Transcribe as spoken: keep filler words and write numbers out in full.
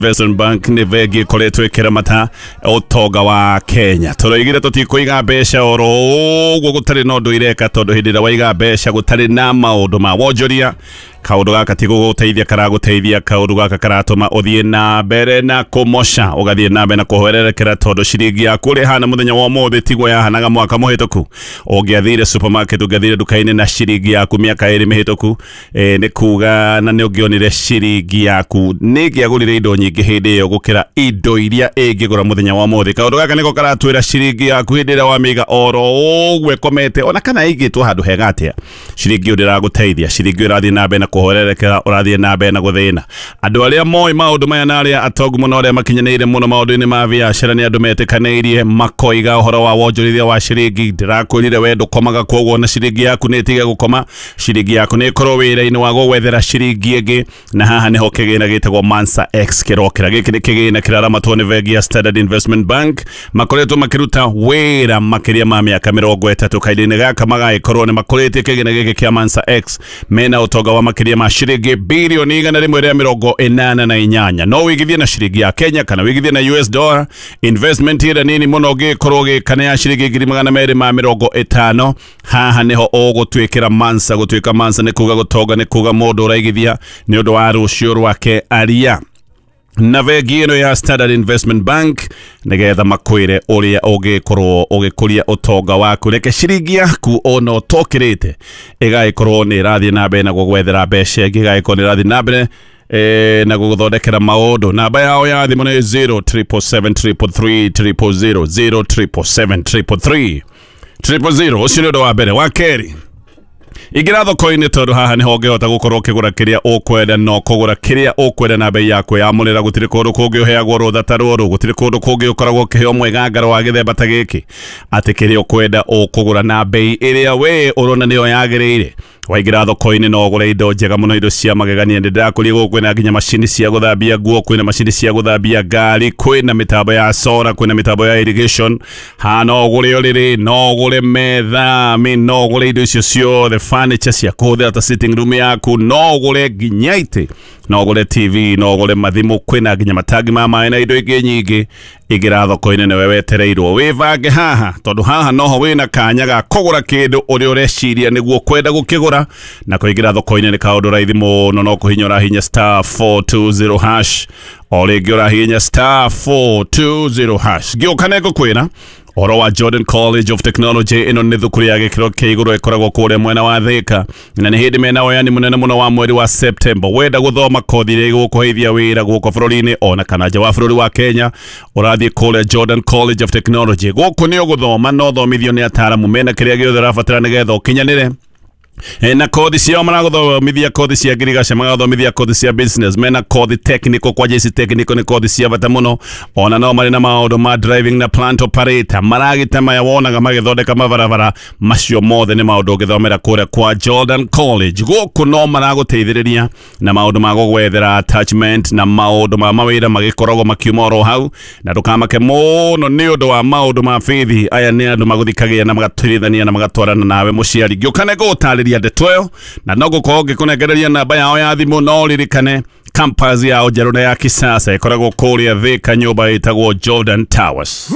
Investment Bank nĩ bengi ĩkoretwo ĩkĩramata ũtonga wa Kenya. Tũroigire tũtikũiga mbeca oro ũguo gũtarĩ na ũndũ ireka, tondũ hĩndĩ ĩrĩa waiga mbeca gũtarĩ na maũndũ ma wonjoria, kaũndũ gaka ti gũgũteithia karagũteithia, kaũndũ gaka karatũma ũthiĩ na mbere na kũmoca, ũgathiĩ na mbere na kũhwererekera, tondũ ciringi yaku ũrĩa ĩhana mũthenya wa ũmũthĩ tiguo yahanaga mwaka mũhĩtũku. Ũngĩathire supermarket, ũngĩathire nduka-inĩ na ciringi yaku mĩaka ĩrĩ mĩhĩtũku, eh, nĩ kuga na nĩ ũngĩonire ciringi yaku nĩ ĩngĩagũrire indo nyingĩ hĩndĩ ĩyo gũkĩra indo iria ĩngĩgũra mũthenya wa ũmũthĩ. Kaũndũ gaka nĩko karatwĩra ciringi yaku hĩndĩ ĩrĩa wamĩiga oro ũguo ĩkomete, ona kana ĩigĩtwo handũ hega atĩa, ciringi ĩyo ndĩragũteithia, ciringi ĩyo ĩrathiĩ na mbere na kũhwererekera, ũrathiĩ na mbere na gũthĩna. Andũ arĩa moĩ maũndũ maya na arĩa atongu mũno, arĩa makinyanĩire mũno maũndũ-inĩ ma biacara, nĩ andũ metĩkanĩirie makoiga ũhoro wa wonjorithia wa ciringi. Ndĩrakwĩrire we ndũkomaga, koguo na ciringi yaku nĩ ĩtige gũkoma, ciringi yaku nĩ ĩkorwo wĩra-inĩ wa gũgwethera ciringi ĩngĩ. Na haha nĩho kĩgĩna gĩtagwo Mansa X kĩrokĩra. Gĩkĩ nĩ kĩgĩna kĩraramatwo nĩ bengi ya Standard Investment Bank, makoretwo makĩruta wĩra makĩria ma mĩaka mĩrongo ĩtatũ. Kahinda-inĩ gaka magagĩkorwo nĩ makũrĩtie kĩgĩna gĩkĩ kĩa Mansa X, mena ũtonga wa makĩria ma ciringi birioni igana rĩmwe rĩa mĩrongo ĩnana na inyanya. No wĩigithie na ciringi ya Kenya kana wĩigithie na U S dollar. Investment ĩrĩa nini mũno ũngĩkorwo ũgĩka nĩ ya ciringi ngiri magana merĩ ma mĩrongo ĩtano. Haha nĩho ũgũtuĩkĩra Mansa. Gũtuĩka Mansa nĩ kuga gũtonga, nĩ kuga mũndũ ũraigithia nĩ ũndũ wa rũciũ rwake. Aria na bengi ĩno ya Standard Investment Bank nĩgetha makwĩre ũrĩa ũngĩkorwo ũgĩkũria ũtonga waku. Reke ciringi yaku ona ũtokĩrĩte ĩgagĩkorwo nĩ ĩrathiĩ na mbere na gũgwethera mbeca ĩngĩ, ĩgagĩkorwo nĩ ĩrathiĩ na mbere eh, na gũgũthondekera maũndũ. Namba yao ya thimũ nĩ zero seven seven seven three three three zero zero zero, zero seven seven seven three three zero zero zero. Ũcio nĩ ũndũ wa mbere. Wa kerĩ, ingĩra thoko-inĩ, tondũ haha nĩho ũngĩhota gũkorwo ũkĩgũra kĩrĩa ũkwenda, no kũgũra kĩrĩa ũkwenda na bei ya kwĩyamũrĩra. Gũtirĩ kũndũ kũngĩ ũheagwo rũtha ta rũrũ, gũtirĩ kũndũ kũngĩ ũkoragwo ũkĩheo mwĩgangaro wa gĩthemba ta gĩkĩ, atĩ kĩrĩa ũkwenda ũkũgũra na bei ĩrĩa we ũrona nĩyo yagĩrĩire. Waingĩra thoko-inĩ no ũgũre indo njega mũno, indo cia magegania. Nĩ ndĩrakũria gũkũ kwĩna nginya macini cia gũthambia nguo, kwĩna macini cia gũthambia ngari, kwĩna mĩtambo ya solar, kwĩna mĩtambo ya irrigation. Ha no ũgũre ũrĩrĩ, no ũgũre metha, I mean, no ũgũre indo icio ciothe, furniture cia kũhũthĩra ta sitting room yaku, no ũgũre nginya itĩ, no ũgũre T V, no ũgũre mathimũ, kwĩna nginya matangi ma maĩ na indo ingĩ nyingĩ. Ingĩra thoko-inĩ, nĩwe wetereirwo wĩbange haha, tondũ haha noho wĩna kanya ga kũgũra kĩndũ ũrĩa ũreciria nĩguo kwenda gũkĩgũra. Na kũingĩra thoko-inĩ nĩ kaũndũ raithi mũno, no kũhinya ũrahinya star four two zero hash, o rĩngĩ ũrahinya star four two zero hash. Ngĩũka nĩ ngũkwĩra ũhoro wa Jordan College of Technology. Ĩno nĩ thukuru ya gĩkĩro kĩa igũrũ ĩkoragwo kũrĩa mwena wa Thika, na nĩ hĩndĩ mena woyani mũnene mũno wa mweri wa September. Wenda gũthoma kothi iria igũkũheithia wĩra gũkũ bũrũri-inĩ ona kana nja wa bũrũri wa Kenya, ũrathiĩ kũrĩa Jordan College of Technology. Gũkũ nĩ ũgũthoma no ũthomithio nĩ ataaramu mena kĩrĩa gĩothe ũrabatara nĩgetha ũkinyanĩre. E, na kothi ciao maragũthomithia kothi cia ngirigaca, magathomithia kothi cia business, mena kothi technical, kwanja ici technical nĩ kothi cia bata mũno. Ona no marĩ na maũndũ ma driving na plant operator, maragita maya wonaga magĩthondeka mabarabara, macio mothe nĩ maũndũ ũngĩthomera kũrĩa kwa Jordan College. Gũkũ no maragũteithĩrĩria na maũndũ ma gũgwethera attachment na maũndũ ma mawĩra magĩkoragwo makiuma oro hau. Na ndũkamake mũno nĩ ũndũ wa maũndũ ma bithi, aya nĩ andũ magũthikagia na magatwĩrithania na magatwarana nawe mũciari. Ngĩũka nĩ ngũgũtarĩria ndeto ĩyo na no ngũkorwo ngĩkũnengereria namba yao ya thimũ. No ririkane campus yao njerũ na ya kisasa ĩkoragwo kũrĩa Thika, nyũmba ĩtagwo Jordan Towers.